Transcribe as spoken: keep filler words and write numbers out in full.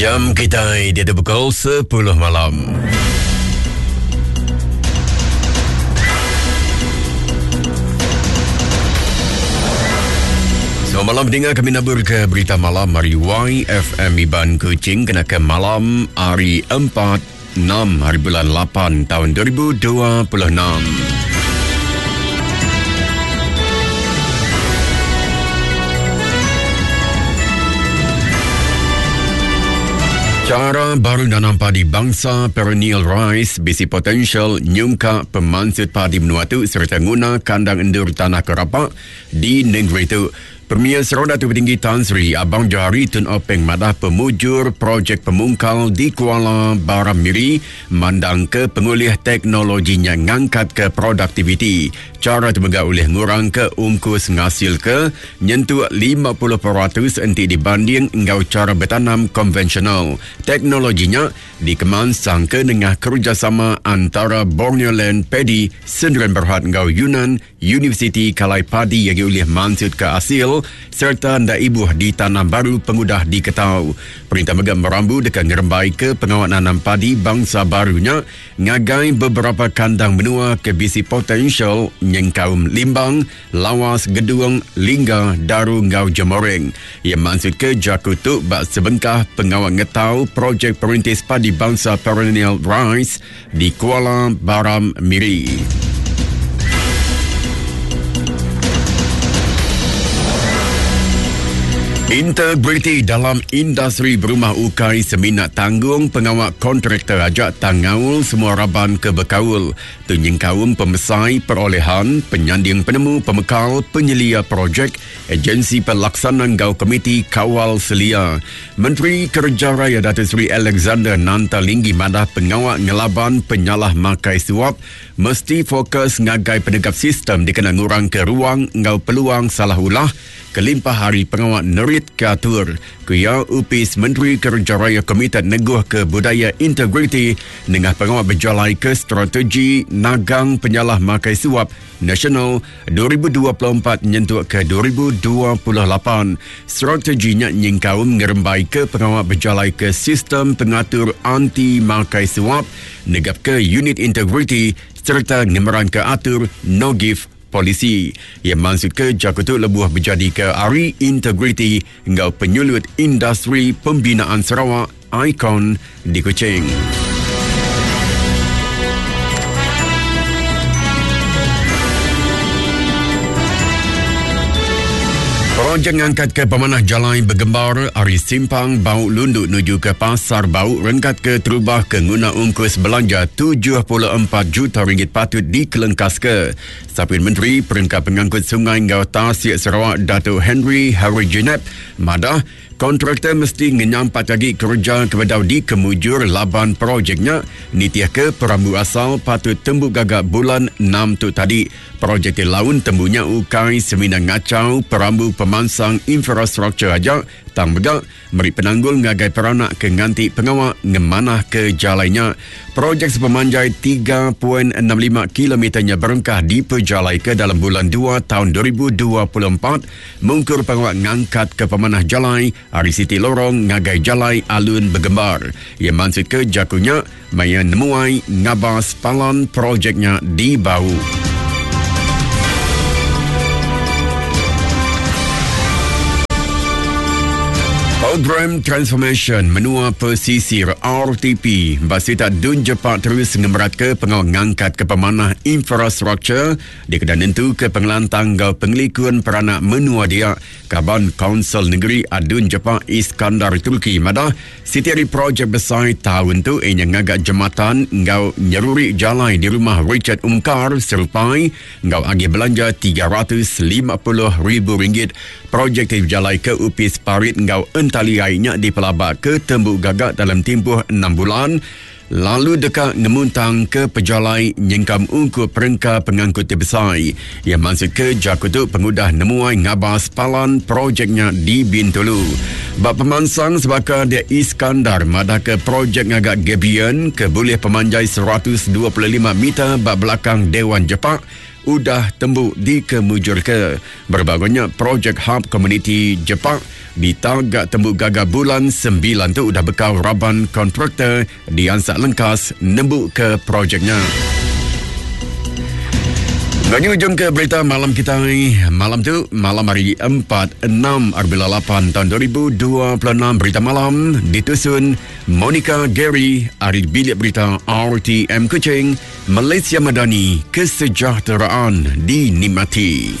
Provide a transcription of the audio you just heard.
Jam kita di pukul sepuluh malam. Selamat malam dengar kami nabur ke berita malam hari Y F M Iban Kuching kena ke malam hari empat enam hari bulan lapan tahun dua ribu dua puluh enam. Cara baru nanam padi bangsa perennial rice bisi potensial nyungka pemansut padi menua tu serta nguna kandang endur tanah kerapak di negeri tu. Premier Sarawak Datuk Patinggi Tan Sri Abang Johari Tun Openg madah pemujur projek pemungkal di Kuala Baram Miri mandang ke pengulih teknologinya ngangkat ke produktiviti. Cara temegah oleh ngurang ke ungkus ngasil ke nyentuh lima puluh peratus enti dibanding enggau cara bertanam konvensional. Teknologinya dikemansang ke nengah kerjasama antara Borneo Land Pedi, Sendirian Berhad enggau Yunan Universiti Kalai Padi yang diulih mansut ke hasil serta ndak ibuh di tanam baru pengudah diketau. Perintah megah merambu dekat ngerembai ke pengawal nanam padi bangsa barunya ngagai beberapa kandang menua ke bisi potensial nyengkaum Limbang, Lawas, Gedung, Lingga, Daru ngau Jemoreng. Ia maksud ke Jakutuk bak sebengkah pengawal ngetau projek perintis padi bangsa perennial rice di Kuala Baram Miri. Integriti dalam industri berumah ukai seminat tanggung pengawal kontraktor ajak tangaul semua raban ke bekaul. Tunying kaum pemesai perolehan, penyanding penemu, pemekal, penyelia projek, agensi pelaksana gau komiti kawal selia. Menteri Kerja Raya Datuk Seri Alexander Nanta Linggi madah pengawal ngelaban penyalah makai suap mesti fokus ngagai penegap sistem dikena ngurang ke ruang ngau peluang salah ulah. Kelimpah hari pengawal nerit ke atur. Kuya Upis Menteri Kerja Raya Komited Neguh ke Budaya Integriti nengah pengawal berjalai ke strategi nagang penyalah makai suap nasional dua ribu dua puluh empat nyentuk ke dua ribu dua puluh lapan. Strateginya nyingkaum ngerembai ke pengawal berjalai ke sistem pengatur anti makai suap, negap ke unit integriti serta ngemerang ke atur no give polisi. Ia maksud ke Jakutuk lebuh berjadi ke Ari Integriti enggau penyulut industri pembinaan Sarawak Icon di Kuching. Projek ngangkat ke pemanah jalan bergembar ari simpang Bau Lunduk menuju ke Pasar Bau rengkat ke terubah ke nguna ungkus belanja tujuh puluh empat juta ringgit patut dikelengkas ke. Sapin Menteri Perengka Pengangkut Sungai Ngau Tasik Sarawak Datuk Henry Harry Jinep madah kontraktor mesti ngenyampat lagi kerja kepada di kemujur laban projeknya nitiah ke perambu asal patut tembu gagak bulan enam tu tadi. Projek di laun tembunya ukai semina ngacau perambu pemansang infrastruktur aja tang megak meri penanggul ngagai peranak ke nganti pengawal ngemanah ke jalainya. Projek sepemanjai tiga perpuluhan enam lima kilometernya berengkah diperjalai ke dalam bulan dua tahun dua ribu dua puluh empat mungkur pengawal ngangkat ke pemanah jalai ari Siti Lorong ngagai jalai alun bergembar. Ia maksud ke jakunya maya nemuai ngabas palan projeknya di Bau. Program Transformation Menua Pesisir R T P Basita Dun Jepak terus ngemerat ke pengawal ngangkat ke pemanah infrastruktur di kedan nentu ke pengelantang gau pengelikun peranak menua dia. Kaban Kaunsil Negeri Adun Jepak Iskandar Turki madah setiap projek besar tahun tu ianya ngagak jematan ngau nyeruri jalai di rumah Richard Ungkar Serupai ngau agi belanja tiga ratus lima puluh ribu ringgit. Projek dijalai ke Upis Parit ngau entali airnya dipelabak ke Tembuk Gagak dalam tempoh enam bulan. Lalu dekat ngemuntang ke pejalai nyengkam ungkup perengka pengangkut terbesar. Ia maksud ke Jakutuk pengudah nemuai ngabas palan projeknya di Bintulu. Bab pemansang sebaka dia Iskandar madah ke projek ngagak Gabion ke boleh pemanjai seratus dua puluh lima meter bab belakang Dewan Jepak udah tembu dikemujurke. Berbagonya projek Hub Community Jepak ditagak tembu gaga bulan sembilan tu udah bekau raban kontraktor diansak lengkas nembu ke projeknya. Bagi ujung ke berita malam kita malam tu, malam hari empat enam lapan tahun dua ribu dua puluh enam. Berita malam ditusun Monica Gary ari Bilik Berita R T M Kuching, Malaysia Madani, kesejahteraan dinikmati.